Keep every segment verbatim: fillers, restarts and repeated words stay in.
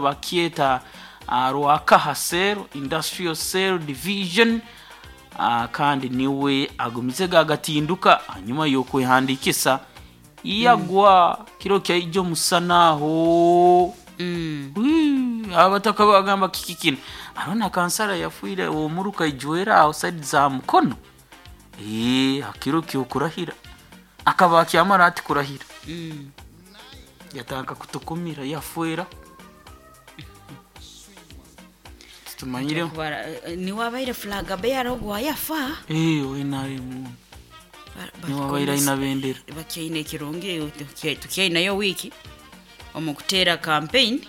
Bakyeta uh, Rwakaha Cell, Industrial Cell Division, uh, kandi niwe agumize gagatinduka hanyuma y'okwehandikisa yagwa kiro kyaijo omusana aho. Mm. Wii, abataka bagamba kiki kino arona kansara yafuire omuruka ijwera aho side za Mukono. Eh, hakiro kyokurahira akaba akyamara ati kurahira, Mm. yataka kutukumira yafwera tutumanyire. Kubara- eh, niwe abaire flag bearer ogwo wayafa. Eh, oinaremu niwe abaire aina bendera. Bakyaine ekirungi, tuky- tukyainayo wiiki omu kuteera campaign.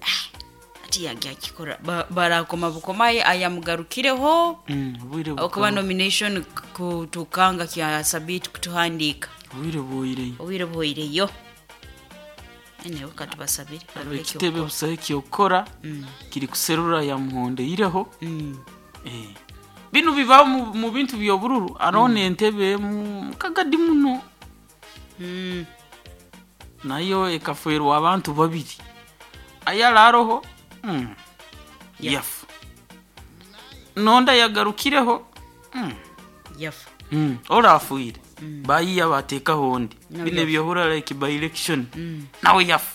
Ah, ati yagyakikora. Ba- barakoma bukomaye ayamugarukireho. Mm, obwire Okuba bukaba- nomination kutukanga kya sabiti kutuhandiika. Obwire bwoireyo. Obwire buhoireyo, enewe katubasabire barore. Ekitebe busaho ekyokukora kiri kuserura yamuhondeireho. Mm. Eh, bino bibaho mu- mu bintu byobururu arona entebe emu kagadi muno, Mm. nayo ekafwerwa abantu babiri ayararoho, mm. Yafa. Yafa nonda yagarukireho, mm. Yafa. mm. orafuire bayiya batekaho ondi. Nawe Bino yafa. ebyohura like by election, Mm. nawe yafa.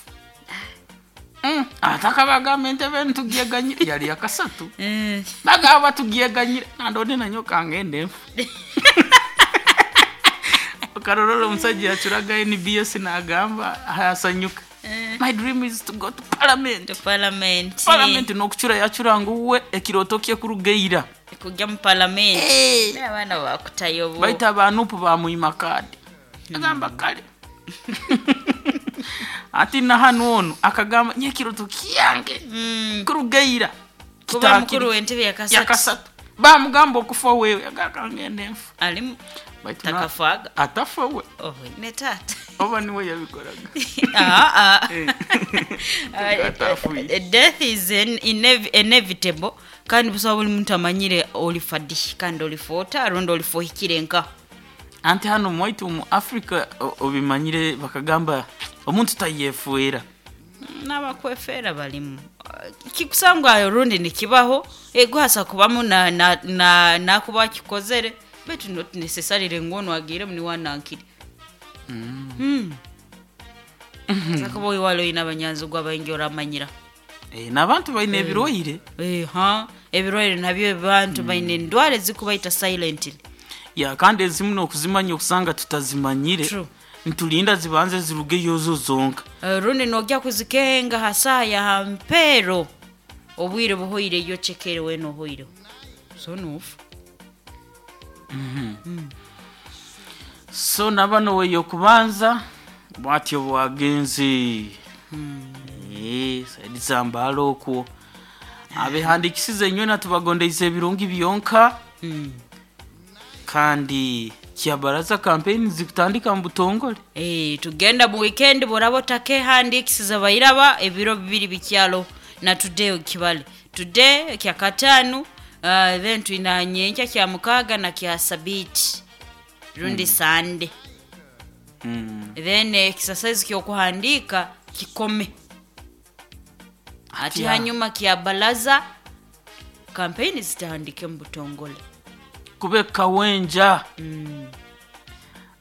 Mm. Ataka bagamba entebe ntugyeganyire yali yakasatu. Eh, Bagaba batugyeganyire nandone nanyo kangende nfu okarorora omusajja yacuraga N B S nagamba hayasanyuka, "My dream is to go to parliament." To parliament. Parliament nokucura yacuranga uwe ekiroto kye kurugeira. Kujya mu parliament. Abaana bakutayo bo. Baita abanupu bamwima kadi agamba kale ati nahanu ono akagamba nye ekiroto kyange Mm. kurugeira Kuba mukuru w'entebe yakasatu. Yakasatu bamugamba okufa wewe agakangende nfu. Alimu Baitu na- takafaga. Atafa we. Oh, ne taata. Oba niwe yabikoraga. Ah, ah. Eh. Atafuye. Uh, death is in, inev inevitable kandi busobola buli muntu amanyire olifa ddi kandi olifa ota rundi olifa ohikire nka. Anti hano mwaitu mu Africa o- obimanyire bakagamba omuntu tayefuera. N'abakwefeera balimu. Uh, kikusangwa rundi nikibaho eguhasa kubamu na, na, na, nakuba akikozere betu not necessarily ngu ono agiiremu niwanankire mm. Sakuba oiwali oine abanyanzigwa baingi oramanyira. Eh, n'abantu baine ebirwaire. Eh, ha ebirwaire nabyo abantu baine endwara ezikubaita silently. Ya kandi ezimu nokuzimanya okusanga tutazimanyire. True. Nitulinda zibanze zirugeyo zo zonka. Eh, rundi nojya kuzikenga hasaya hampero obwire buhoireyo chekere wena ohoireho so nufu. So nabano weyo kubanza bwatyo bwagenze. Eh, side zambala okwo abehandikisize nywena tubagondeize ebirungi byonka. mm. Kandi kyabaraza campaign zikutandika mu butongole. Eh, tugenda mu weekend boraba otakehandikisiza bairaba ebiro bibiri bikyalo na today kibale today kya katano, uh, then twina nyenkya kya mukaga na kya sabiti rundi mm. Sunday. mm. Then exercise kyokuhandika kikome ati Atya. Hanyuma kya balaza campaign zitandike mu butongole. Kube kawenja. mm.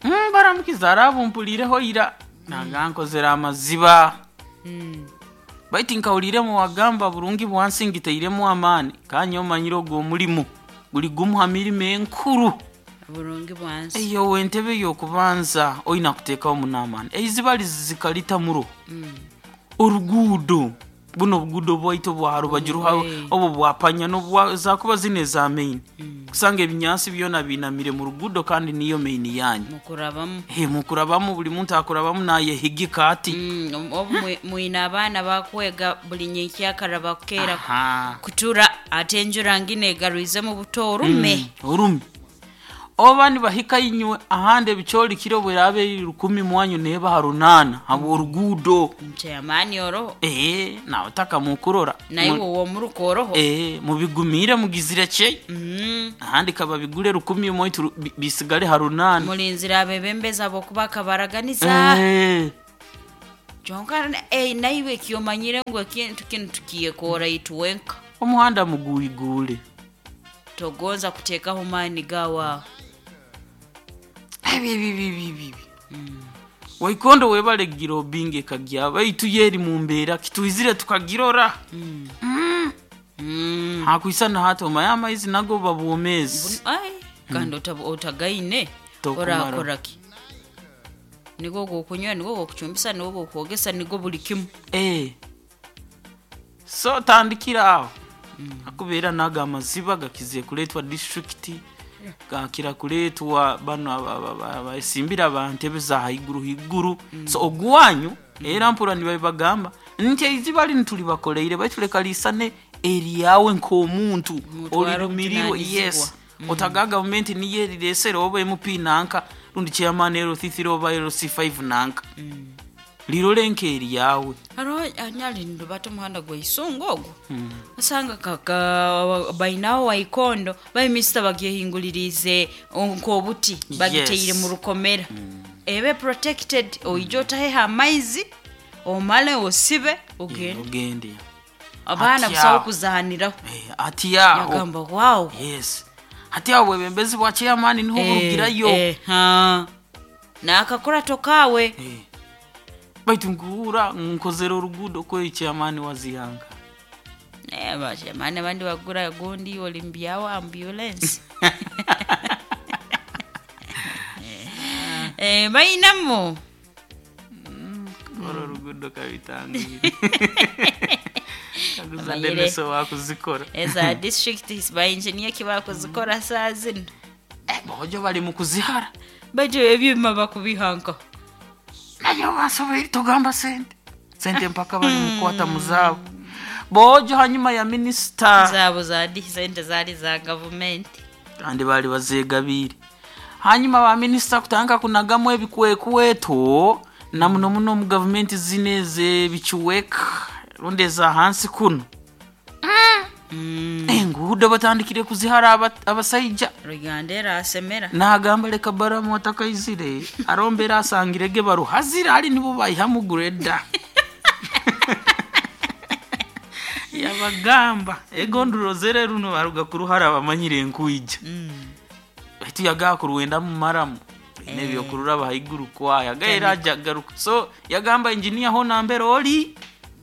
mm, baramukiza arabumpulireho ira nagankozera amaziba. Mm. Baitu nkawuliremu wagamba burungi bwansi ngitairemu amaani kanye omanyire ogwo omulimu guli gumu ha mirimo enkuru. Burungi bwansi. Eyo wentebe yokubanza oyina kuteekawo munaamaani eiziba lizikalita muro. mm. Oruguudo buno obuguudo bwaitu bwa rubaju ruha Owe. obwo bwapanya nobwa zakuba zino eza main kusanga ebinyansi byona binamire mu ruguudo kandi niyo main yanyu. Mukurabamu. He mukurabamu buli muntu akurabamu nayehigika ati. Mm, obu mwi- mwine abaana bakwega buli nyenkyakara bakukeera Aha. kutura ate enjura ngine egarwizemu buto orume. Mm, orume oba nibahika inywe ahandi ebicyolikiro bwerabe eri rukumi mwanyu neba ha runana habwa oruguudo. Nkyamaani oroho. Ee nawe taka mukurora. Naye Mu- wowe omuruka oroho. Ee mubigumire mugizire kye. Mm. Ahandi kababigure rukumi moitu ru- bi- bisigale ha runana. Mulinzira abebembezi abokuba kabaraganiza. Eh. Kyonka eh, naiwe kyomanyire ngu ekintu kinu tukiyekora itwenka. Omuhanda muguigule. Togonza kuteekaho maani gawa. Ebi ebi ebi ebi ebi. Waikondo webale gira obinge kagya baitu yeri mu mbeera kituizire tukagirora. Mm. Mm. Hakuisana hato mayama izi nago babwomezi. Ai, kandi mm. otagaine Tokumara. orakoraki. Nigo gokunywa, nigo gokuchumbisa, nigo gokwogesa, nigo buli kimu. Eh. So tandikira aho. Mm. Akubeera naga amaziba gakize kuletwa district gakira kuletwa bano abasimbira abantebe za haiguru higuru. Mm. So ogwanyu mm. era mpura nibabagamba nti iziba ntuli bakoleire baituleka lisane eriyawe nk'omuntu olirumiriro yes. Mm. Otaga government niye riresera oba M P nanka rundi chairman L C three oba L C five nanka. Mm. Lirole nkeri yawe. Haro anyali ndubata muhanda gwa isungu ogwo. Mm. Asanga kaka bainawo waikondo bayi mister bagihingulirize nkobuti bagiteire Yes. mu rukomera. Mm. Ebe protected oijota heha amaizi omale osibe ogende. Ogende. Abana Ati busawo aho. kuzahaniraho. Eh, ati yaho. Yagamba wow. Yes. Ati aho bwebembezi bwa chairman niho Eh, burugirayo. Eh, ha. Nakakora tokawe. Eh. Baitu nguura nkozera orugudo kwe chairman wazihanga. Eh, ba chairman abandi bagura gondi olimbyawo ambulance. Eh, bainamo. Mm, kora orugudo kabitangire. Kaguza Deneso wakuzikora. Eza district is by engineer kibakuzikora saa zino. Eh, bojo bali mu kuzihara. Baje ebyuma bakubihanka. Nayo basoboye tugamba sente. Sente mpaka bali mukwata muzabo. Bojo hanyuma ya minister. Zabo za di sente zali za government. Kandi bali bazegabire. Hanyuma ba minister kutanga kunagamu ebikwekweto na muno muno mu government zineze bichuweka rondeza hansi kuno. Mm. Enguudo batandikire kuzihara abasaija. Rugandera asemera. Nagamba leka baramu atakaizire arombera asangirege baruhazira ali nibo bayihamugureda. Yabagamba egonduro zere runo baruga kuruhara bamanyire enkuija. Mm. Baitu yagakuruwenda mu maramu. Eh. Nebyo kurura bahiguru kwaya gaira ajagaruka. So yagamba engineer ho nambere oli.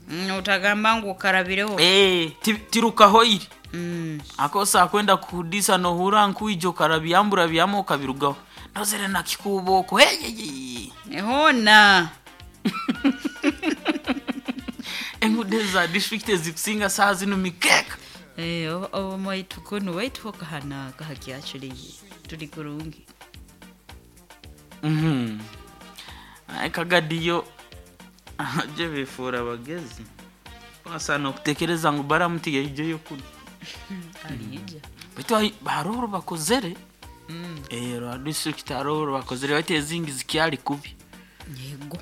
Mm, utagamba ngu karabireho. Eh, tiruka hoiri. Mm. Akosa akwenda kuhudisa no hura nkuijo karabyambura byamo kabirugaho. Nozere na kikuboko. Hey, hey, hey. Ehona. Engude za district ezikusinga saa zino mikeka. Eh, obo mwaitu kono waitu kahana kahakyachuli tuli kurungi. Mhm. Ai kagadiyo aje bifura bagezi. Basa no kutekereza ngu baramuti yaije kuno. Alija. Baitu baroro bakozere. Mm. Eh, rwa district aroro bakozere bate zingi zikyali kubi. Yego.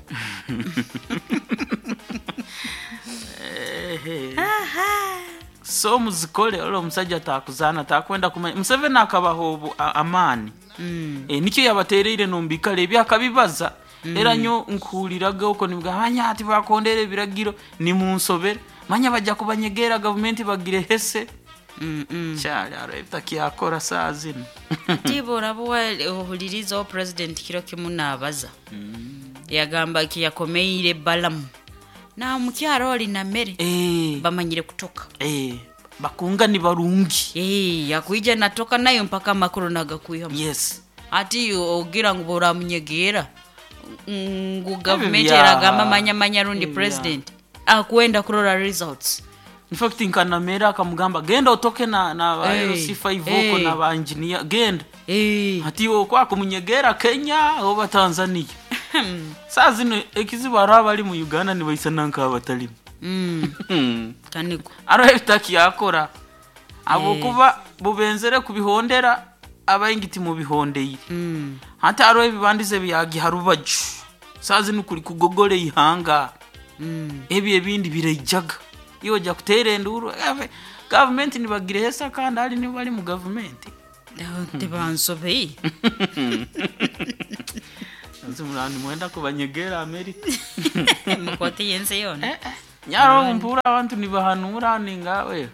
Ehe. Aha. So muzikole olo omusajja takuzana takwenda kumanya Museveni akabaho obu amani. Mm. E, nikyo yabatereire nombikale ebyakabibaza. Mm. Era nyo nkuhuliraga uko nibwa ati bakondere ebiragiro ni munsobere manya bajja kubanyegera government bagire hese. Mm -mm. Kyali aro ebitakyakora saa zino. Tibo orabo ohuliriza o president kiro kimu naabaza. Mm. Yagamba ki yakomeire balamu. Na mukyaro oli na mere. Eh. Bamanyire kutoka. Eh, bakunga ni barungi. Eh, yakuija natoka nayo mpaka makuru nagakuiha. Yes. Ati ogira ngu boramunyegera. Ngu government Ebya. eragamba manya manya rundi Ebya. president. Akwenda kurora results. In fact nkanamera akamugamba genda otoke na na ba Eh, L C five eh. oko na ba engineer genda. Eh. Ati okwa kumunyegera Kenya oba Tanzania. Saa zino ekizibu aro abali mu Uganda ni baisana nka abatalimu. Mm. Kaniko. Aro ebitaki yakora. Abo Eh. kuba bubenzere kubihondera abayingiti mu bihondeire. Mm. Hata aro ebibandize byagiharubaju. Saa zino kuri kugogole ihanga. Mm. Ebi ebindi bireijaga. Iyo ja kutere nduru. Government nibagire hesa kandi ali ni bali mu government. Tebansobei. Ensi murani mwenda kubanyegera Amerika. Mukoti yensi yona. Eh, eh. Nyaro mpura abantu nibahanura ningawe.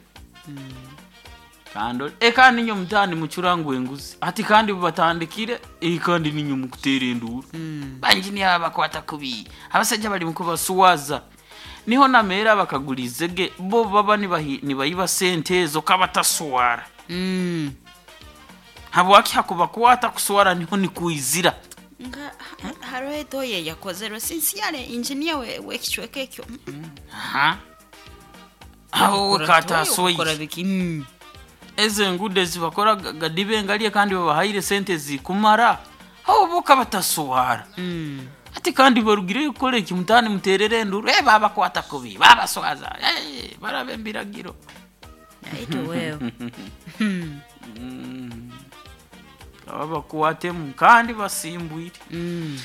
Kando e kandi ninyo mutani mucurangu enguzi. Ati kandi batandikire e kandi ninyo mukutera enduru. Mm. Banjiniya bakwata kubi. Abasajja bali mukubasuwaza. Niho namera bakagulizege bo baba nibahi nibayiba sente ezo kabataswara. Mm. Habwaki hakubakwata kuswara niho nikuizira. Nga ha- hariho etoye yakozerwe since engineer we wekicweka ekyo. Mm. Aha. Aho Kukora kata toye, kukora soyi. biki. Mm. Ezo enguudo ezibakora gadibe engalye kandi babahaire sente zikumara. Aho bo kabataswara. Mm. Ati kandi barugireyo kukora eki mutani muterere enduru. Eh babakwata kubi. Babaswaza. Eh barabe embiragiro. Aito wewe. Mm. Mm. Babakwatemu kandi basimbwire. Mm.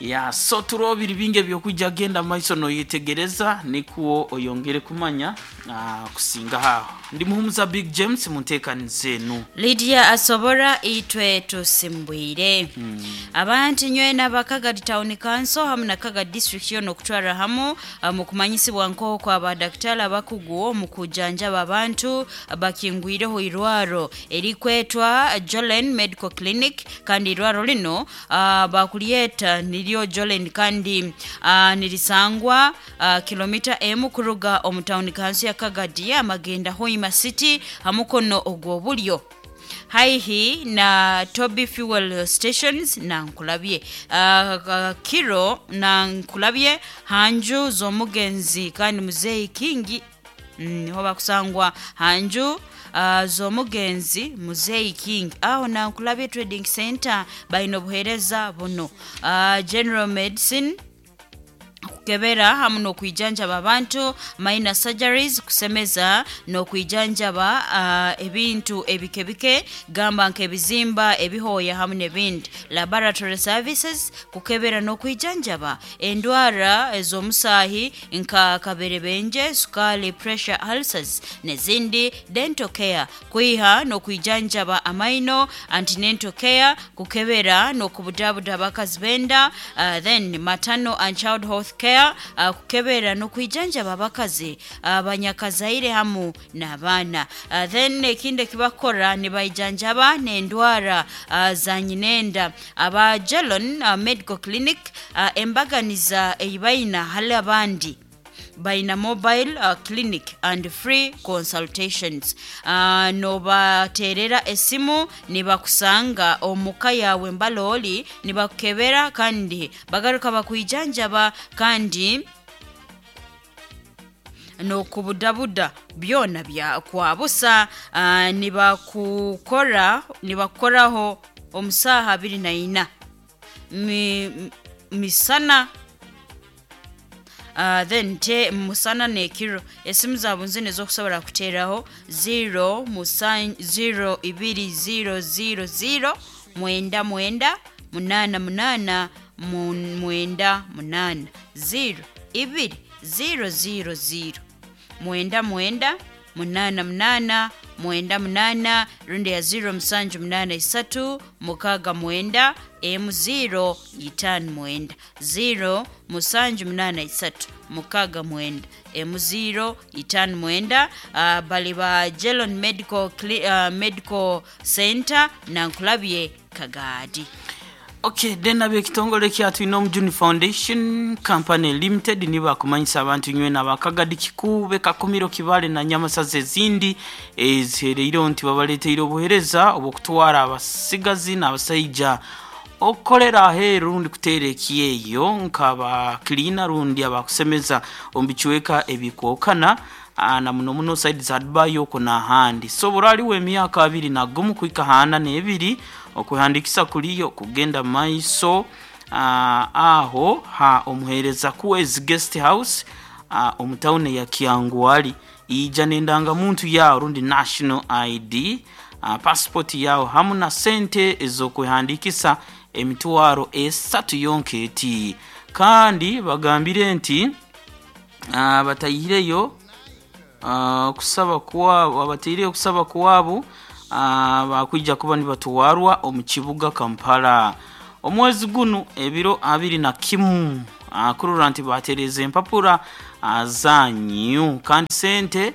Ya so turobiri bingi ebyokujja genda maiso noyetegereza nikuwo oyongere kumanya ah, kusinga haho. Ndi muhumuza Big James munteekaniza enu. Lydia asobora itwe tusimbwire. Mm. Abantu nywena Bakagadi Town Council hamu na Kagadi District yono okutwara hamu ah, mu kumanyisibwa nk'okwo abadaktari abakugu mu kujanjaba abantu bakingwireho irwaro erikwetwa Jolen Medical Clinic kandi irwaro lino ah, bakulyeta niryo Jolen kandi ah, nirisangwa ah, kilomita emu kuruga omu town council ya Kagadi amagenda Hoima City hamukono ogw'obulyo haihi na Toby Fuel Stations na nkulabye uh, kiro na nkulabye hanju z'omugenzi kandi muzeeyi Kingi. Mm, niho bakusangwa hanju uh, z'omugenzi muzeeyi King aho na nkulabye Trading Center balina obuheereza buno uh, general medicine kukebera hamu n'okwijanjaba abantu minor surgeries kusemeza n'okwijanjaba uh, ebintu ebikebike gamba nk'ebizimba ebihooya hamu n'ebindi laboratory services kukebera n'okwijanjaba endwara ez'omusaahi nka kaberebenje sukali pressure ulcers n'ezindi dental care kwiha n'okwijanjaba amaino antenatal care kukebera n'okubudabuda abakazi benda uh, then maternal and child health care uh, kukebera n'okwijanjaba abakazi abanyakazaire hamu n'abaana uh, then ekindi ekibakora nibaijanjaba n'endwara uh, za nyinenda aba Jelon uh, Medical Clinic uh, embaganiza eyibaina hali abandi baina mobile uh, clinic and free consultations uh, nobaterera esimu nibakusanga omuka yawe mbalooli nibakukebera kandi bagaruka bakwijanjaba kandi n'okubudabuda byona bya kwabusa uh, nibakukora nibakukoraho omusaha abiri na ina Mi, misana Uh, then te musana nekiro esimu zaabwe nzino ezokusobola kuteeraho zero musan zero ibiri zero zero zero mwenda mwenda munaana munaana mu- mwenda munaana zero ibiri zero zero zero mwenda mwenda munaana munaana mwenda munaana rundi ya zero musanju munaana isatu mukaaga mwenda emu zero itaano mwenda zero musanju munaana isatu mukaaga mwenda emu zero itaano mwenda uh, bali ba Jelon Medical, Cli- uh, Medical Center nankulabye Kagaadi. Okay, then ab'ekitongole kya Twine Omujuni Foundation Company Limited nibakumanyisa abantu nywena abakagadi Kikuube Kakumiro Kibale na Nyamasaza ezindi ezihereireho nti babaleteire obuheereza obw'okutwara abasigazi n'abasaija okukolera aheeru rundi kuteera ekyeyo nk'aba cleaner rundi abakusemeza omu bicweka ebikwokana ah, na muno muno side za Dubai okwo n'ahandi. So buraliwo emyaka abiri na gumu kuhika hana n'ebiri okuhandikisa kuliyo kugenda maiso ah, aho ha omuheereza Kuwezi Guest House ah, omu tawuni ya Kyangwali ija n'endangamuntu yawo rundi national I D uh, passport yawo hamu na sente ez'okwehandikisa emitwaro esatu yonka eti. Kandi bagambire nti uh, batayireyo uh, kusaba kwabo abataireyo kusaba kwabo uh, bakwija kuba nibatwarwa omu kibuga Kampala. Omwezi gunu ebiro abiri na kimu kurora nti batereza empapura zanyu kandi sente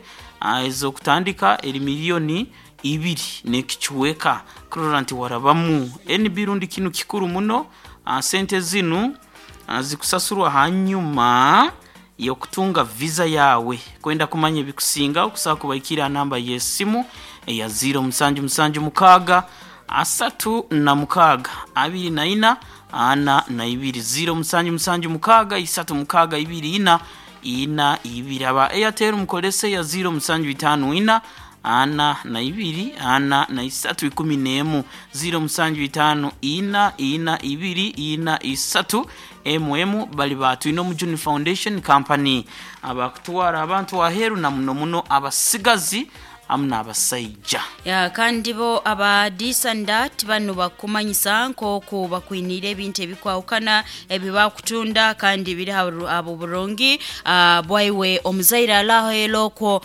ez'okutandika eri miliyoni ibiri n'ekichweka kurora nti warabamu N B rundi kinu kikuru muno. Sente zinu zikusasurwa hanyuma yokutunga visa yawe. Kwenda kumanya ebikusinga okusaba kubaikira namba y'esimu eya zero musanju musanju mukaaga asatu na mukaaga abiri na ina ana na ibiri zero musanju musanju mukaaga isatu mukaaga ibiri ina ina ibiri. Aba Airtel mukolese ya zero musanju itanu ina ana na ibiri ana na isatu ikumi n'emu zero musanju itanu ina ina ibiri ina isatu M M bali batu ino Mujuni Foundation Company abakutwara abantu aheru na muno muno abasigazi amna abasaija ya kandi bo aba disandat bano bakumanyisa nkoko bakwinire ebintu ebikwawukana ebibakutunda kandi biri abo burungi uh, bwaiwe omuzaire alaho eloko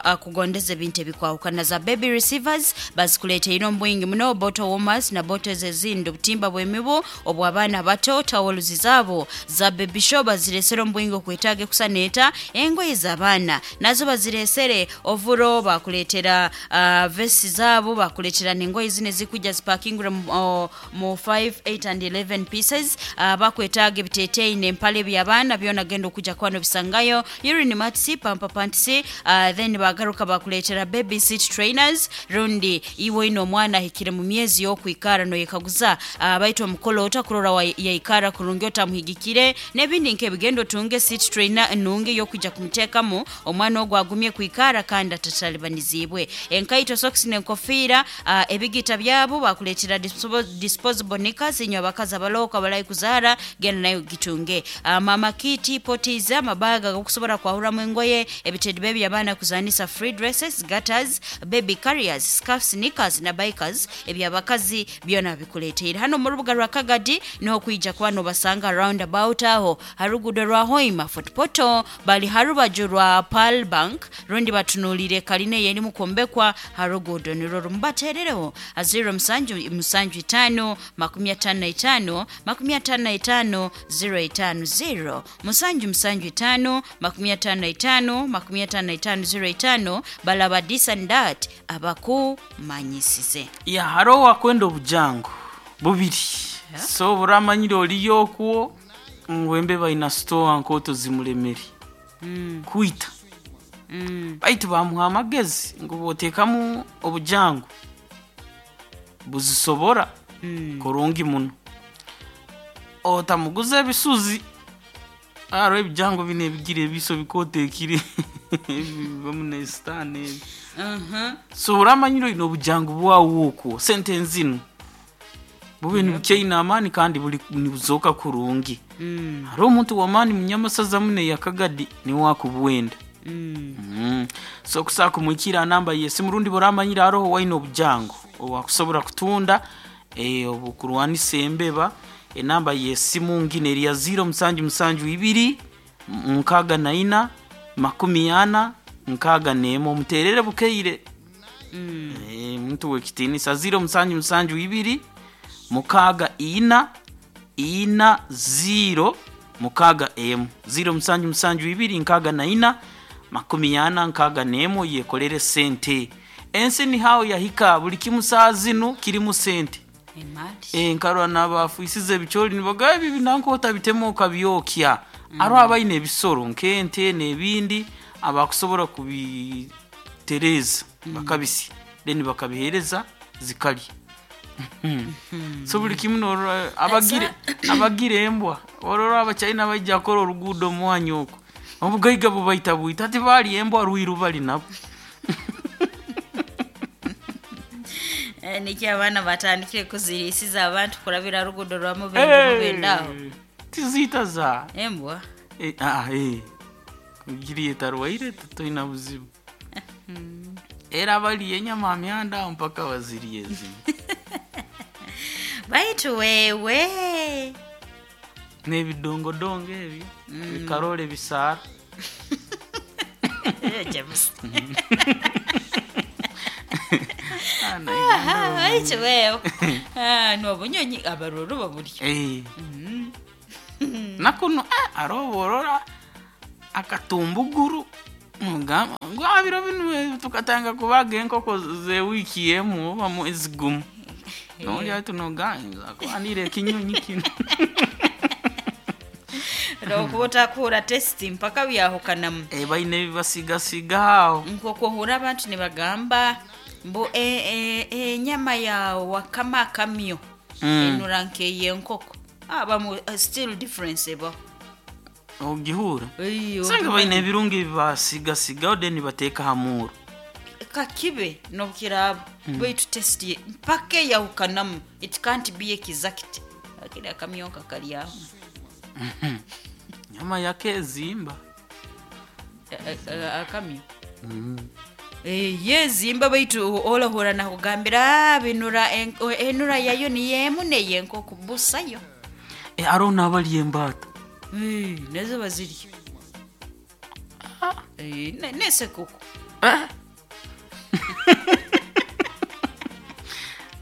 akugondeza ebintu ebikwawukana za baby receivers bazikuleeta ino mbwingi muno bottle warmers na bottles ezindi obutimba bw'emibu obw'abaana bato towels zaabo za baby show baziresere ombwingi okwetage kusaneeta engoye z'abaana nazo baziresere ovuro bakule bakuletera uh, vesi zabo bakuletera nengoye zine zikuja zipakingura mu, mu five, eight and eleven pieces uh, bakwetaga ebiteteyi n'empale by'abaana byona genda okuja kwano bisangayo urine mats pampa pants uh, then bagaruka bakuletera baby seat trainers rundi iwe ino omwana ahikire mu myezi y'okwikara noyekaguza uh, baitu omukolo otakurora yaikara kurungi otamuhigikire n'ebindi nk'ebigendo tunge seat trainer nungi y'okuja kumutekamu omwana ogwo agumye kwikara kandi atatalibaniza zibwe enkaito socks n'enkofiira uh, ebigita byabo bakuletera disposable knickers inyo abakazi abaloka balayi kuzara genda nayo gitunge uh, mama kiti potiza amabaga gokusobola kwahuramu engoye ebitedi baby abaana kuzanisa free dresses gutters baby carriers scarves knickers na bikers ebyabakazi byona bikuleteera hano mu rubuga rwa Kagadi niho kwijja kwano basanga roundabout aho harugudo rwa Hoima Fort Portal bali harubaju rwa Pearl Bank rundi batunulire kaline yeni mukombekwa harugudo niro rumbaterereho aziro musanju musanju itano makumi atano na itano makumi atano na itano zero itano zero musanju musanju itano makumi atano na itano makumi atano na itano zero itano balaba this and that abakumanyisize ya haro wakwenda obujango bubiri yeah. So buramanyire oliyo okwo ngwembe baina store nkoto zimulemeri mm. kuita mm. baitu bamuha amagezi ngo botekamu obujango buzisobora mm. kurungi muno otamuguza ebisuzi aro ebijango bine ebigire ebiso bikotekire bamune stane uh-huh. So uramanyiro ino obujango bwawo okwo sentence ino bube ni bukeina amani kandi buli nibuzoka kurungi mm. haro omuntu wamani munyamasaza mune yakagadi ni wakubwenda mm. mm. So kusaka kumwikira namba yesi murundi buramanyira aroho waino obujango owakusobora kutunda eh obukurwanisa embeba enamba yesimu ngine eri ya zero musanju musanju ibiri nkaga na ina makumi ana nkaga nemo muterere bukeire mm. eh muntu wekitinisa zero musanju musanju ibiri mukaga ina ina zero mukaga m zero musanju musanju ibiri nkaga na ina makumi ana nkaga nemo yekolere sente ensi ni hao yahika buli kimusazinu kirimu sente emali e nkarwa nabafuisize ebicholi nibaga ebi binanko otabitemo kabyokya mm. aro abaine ebisoro nkente n'ebindi abakusobora kubitereza mm. bakabisi then bakabihereza zikali so buli kimu norora abagire abagire embwa orora abachina bajja kora orugudo mwanyu oko obugaiga bubaita buita ati bali embwa ruiru bali nabo niki abaana batandikire kuzirisiza abantu kurabira rugudo rwa mubende mubendaho tizita za embwa eh ah eh kugiriye tarwaire toina buzibu era bali enyama myanda mpaka baziriye zino baitu wewe n'ebidongodongo ebyo mm. bikarole bisaara James. Ah, na Uganda Aha, ekyo wewe. Ah, n'obunyonyi abaroro baburya. Eh. Nakuno eh, aroborora akatumbuguru mugamba ngu "Ah, biro binu eh, tukatanga kubaga enkoko ze wiiki emu oba mwezi gumu nolya tunoganza kwanira ekinyonyi kino." Okuba otakuhura taste mpaka byahukanamu. Eh, baine ebibasigasiga aho. Nk'okuhura abantu nibagamba mbu e- e- enyama ya wakama akamyo Mm. enura nk'eyenkoko, abamu uh, still difference ebaho. Ogihura. Iyo. Sanga baine ebirungo ebibasigasigaho, then bateeka ha muuro. Kakibe nobukiraaba, baitu taste ye mpaka eyahukanamu. It can't be exact, akiri akamyo kali aho. Nyama yake ezimba. A- a- akamyo Eh, yezimba, baitu olahura nakugambira, "Ah, binura en- enura yayo niyemu neyenkoko busayo." Eh, aroho n'abalya embaata. Eh, nazo bazirya. Eh, ne- nesekuku. Eh.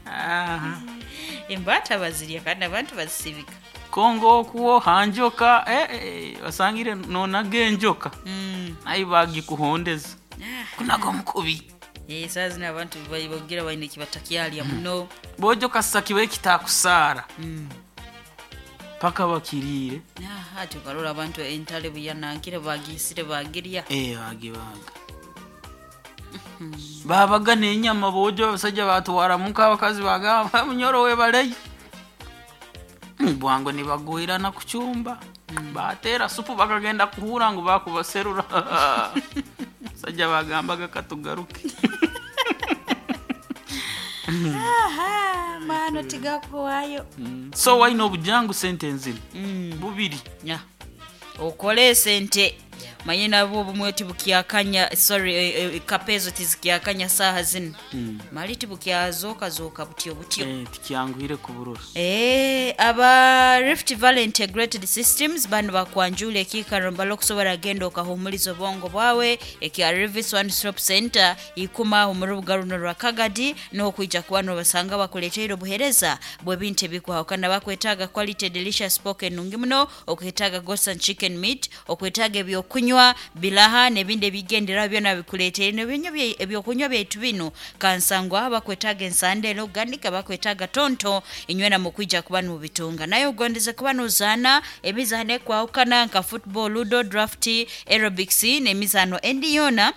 Aha. Embaata bazirya kandi abantu bazisibika. Kongo okuwo hanjoka, eh, eh, basangire nonaga enjoka, Mm. naye bagikuhondeza Ah, kunaga omukubi. Eh, saa zino abantu ba- bogira baine kibatakyalya muno. Bojo kasa kibe kitakusaara Mm. paka bakiriire. Ah, ati okarora abantu entale buyanankire bagisire bagirya. Eh, bagibaga, babaga n'enyama bojo, abasajja batwaramuka, abakazi bagamba, "Munyoro webaleyo." Bwango nibagwirana ku cyumba, batera supu, bakagenda kuhura ngu bakubaserura, abasajja bagambaga katugaruke. Aha, mano tigakuwayo. So waine obujangu sente nzino Mm. bubiri. Nya. Okole esente, manye nabwo obumwe tibukyakanya, sorry, eh, eh, kapezo tizikyakanya saaha zino, mali tibukyazookazooka butyo butyo. Eh, tikyanguhire kuburura. Eh, aba Rift Valley Integrated Systems bano bakwanjula ekiikaro mbala okusobola genda okahumuliza obwongo bwawe ekya Rivis One Stop Center ikuma aho mu rubuga runo rwa Kagadi, n'okwija kuba nobasanga bakuleteire obuhereza bw'ebintu ebikwahukana. Bakwetaaga quality delicious pork enungi muno, okwetaaga goat and chicken meat, okwetaaga ebyokunywa bilaha n'ebindi ebigenderaho byona bikuleteire nebinywa bye- ebyokunywa byaitu bino kansangwa. Bakwetaaga ensande enoganika, bakwetaaga tonto inywena mukwija kuba nubitunga. Naye ogondeze kuba nuzaana emizaano ekwahukana nka football, ludo, draft, aerobics n'emizaano endi yoona,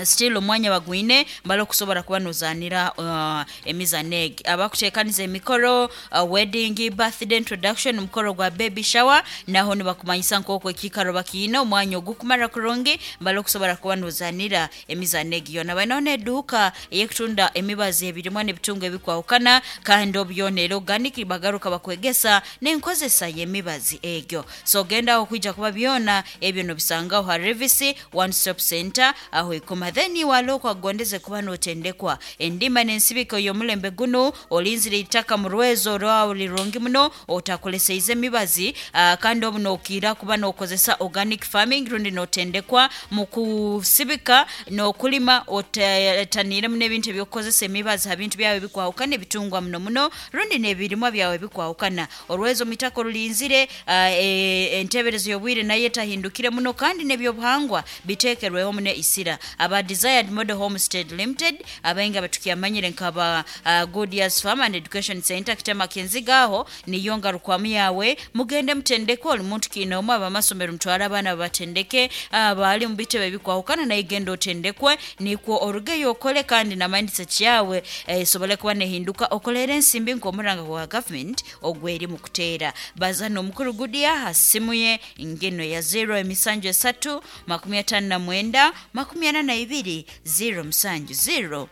still omwanya bagwine mbala okusobola kuba nozaanira uh, emizaano egi. Abakuteekaniza emikoro, uh, wedding, birthday, introduction, omukoro gwa baby shower, naho nibakumanyisa nk'oku ekiikaro bakiine omwanya ogukumara kurungi mbala okusobola kuba nozaanira emizaano egi yona. Balinaho n'eduuka ey'ekutunda emibazi, ebirimwa n'ebitungo ebikwahukana, kandi obyona era organic, bagaruka bakwegesa n'enkozesa y'emibazi egyo. So gendaho kwija kuba byona ebyo nobisangaho ha Revisi One Stop Center aho ikoma. Then wala okwagondeze kuba notendekwa endima n'ensibiko y'omulembe guno, olinzire itaka mu rwezo rwawe lirungi muno, otakoleseize emibazi, uh, kandi obu nokiira kuba nokozesa organic farming, rundi notendekwa mu kusibika n'okulima otaniremu n'ebintu ebyokukozesa emibazi ha bintu byawe ebikwahukana ebitungwa muno muno rundi n'ebirimwa byawe ebikwahukana. Orwezo mitako rulinzire, uh, e, enteberezo y'obwire nayo etahindukire muno, kandi n'ebyobuhangwa biteekerweho muno isira. Aba Desired Model Homestead Limited abainga batukyamanyire nkaba uh, Goodyears Farm and Education Center kitema kinziga aho niyo ngarukwamu yawe. Mugende mutendeke oli muntu kiina abamasomero, mutwale abaana babatendeke abaali mu bitebe ebikwahukana, naye genda otendekwe nikwo orugeyo okole, kandi na mindset yawe esobole kuba nehinduka, okolere ensimbi nk'omuranga gwa government ogweri mu kuteera. Bazana omukuru Gudia ha simu ye ngeno ya zero emisanju esatu makumi atano na mwenda makumi ana na ibiri zero musanju, zero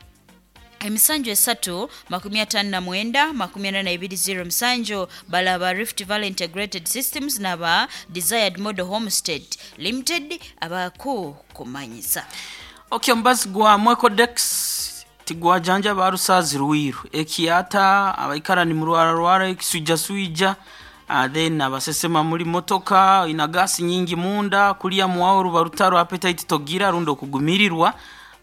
emisanju esatu makumi atano na mwenda makumi ana na ibiri zero musanju. Balaba Rift Valley Integrated Systems n'aba Desired Model Homestead Limited abakukumanyisa. Okay, omubazi gwa Mwecodex tigwajanja barusazi rwiru ekiata abaikara ni murwararwara ekiswijaswija, uh, then abasesema muri motoka ina gasi nyingi munda, kulya muwawo ruba rutaro, appetite togira rundi okugumirirwa.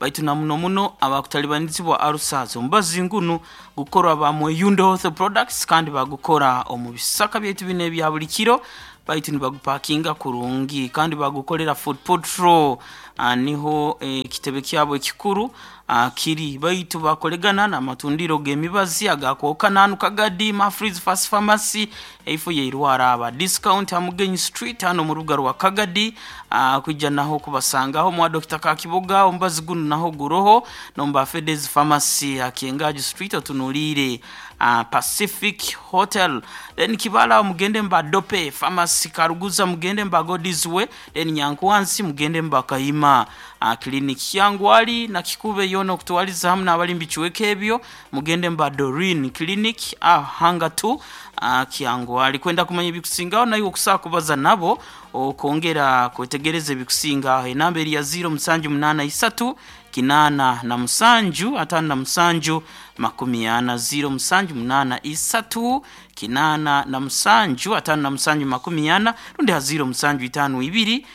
Baitu na muno muno abakutalibanizibwa arusazo. Omubazi ngunu gukorwa ba Mweyundo Health Products, kandi bagukora omu bisaka byaitu bino ebya buli kiro, baitu nibagupakinga kurungi kandi bagukorera Food Patrol. uh, niho ekitebe eh, kyabo ekikuru uh, kiri, baitu bakolegana n'amatundiro g'emibazi agakwoka nanu Kagadi Mafreeze Fast Pharmacy eifo yeirwara aba discount Hamugenyi Street hano mu rubuga rwa Kagadi. uh, kwijja naho kubasangaho mwa Doctor Kakiboga, omubazi guno naho guroho nomba Fedez Pharmacy Akiengaji Street otunulire uh, Pacific Hotel. Then Kibala mugende mba Dope Pharmacy, Karuguza mugende mba Godizwe, then Nyankwansi mugende mba Kahima uh, clinic Yangwali na Kikube yono okutwaliza hamu n'abali mbikiweka ebyo mugende mba Doreen Clinic uh, hanga tu uh, Kyangwali. Kwenda kumanya ebikusingaho nayo okusaa kubaza nabo okongera kwetegereza ebikusingaho, enamba eri ya ziro musanju munana isatu kinana na musanju atano na musanju makumi ana, ziro musanju munana isatu kinana na musanju atano na musanju makumi ana, rundi ha ziro musanju itanu ibiri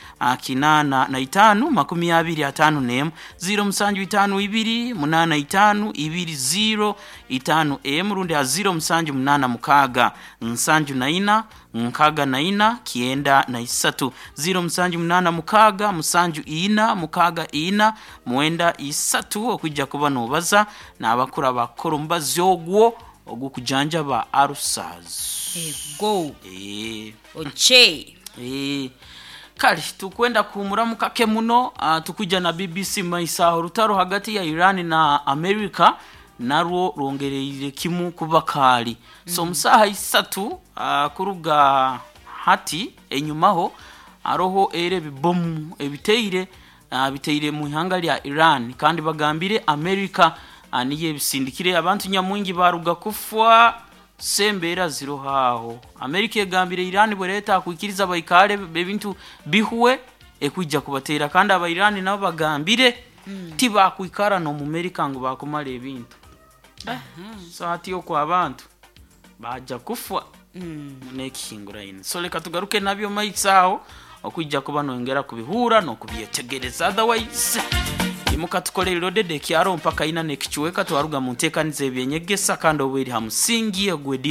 kinana na itanu makumi abiri atano nemu, ziro musanju itanu ibiri munana itanu ibiri ziro itanu emu, rundi ha ziro musanju munana mukaga nsanju na ina nkaga na ina kienda na isatu, ziro musanju munana mukaga musanju ina mukaga ina mwenda isatu. Okujja kuba nobaza n'abakura bakora omubazi ogwo ogukujanjaba arusaz. Ego. E. Oche. E. Kale tukwenda kuhumuramu kake muno. uh, tukujja na B B C maisaho. Rutaro hagati ya Iran na America narwo rwongereire kimu kuba kaali. mm -hmm. So musaha isatu uh, kuruga hati enyumaho aroho era ebibomu ebiteire uh, biteire mu ihanga lya Iran, kandi bagambire America uh, niyo ebisindikire abantu nyamwingi baruga kufwa sembeera zirohaaho. America egambire Iran bwereta kwikiriza baikale ebintu bihuwe ekwijja kubateera, kandi aba Iran nabo bagambire mm. tibakwikara no mu America ngo bakumala ebintu. uh -huh. So hati okwo abantu baja kufwa mm. nekihingura ine. So leka tugaruke nabyo maitsaho okwijja kuba nongera kubihura nokubyetegereza, otherwise imuka tukolera lodede kyaro mpaka ina nekichweka twaruga mu nteekaniza ebyenyegesa kandi obweri ha musingi ogwedi.